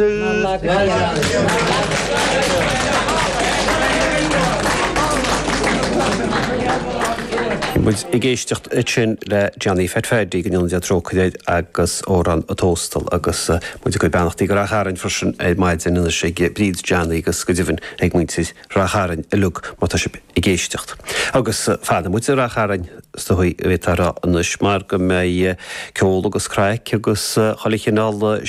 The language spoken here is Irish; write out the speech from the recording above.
Bhí muid ag éisteacht ansin le Johnny Phat Phaddy, go ndéana Dia trócaire air, agus Amhrán an Tóstail agus muid ag cur beannachtaí go Rath Chairn freisin ar maidin anois ag Bríd Johnny agus go deimhin ag muintir Rath Chairn uilig má tá sibh ag éisteacht. Agus fanfaidh muid i Rath Chairn is dóigh a bhféadfá a rá anois mar go mbeidh ceol agus craic agus chuile chineál.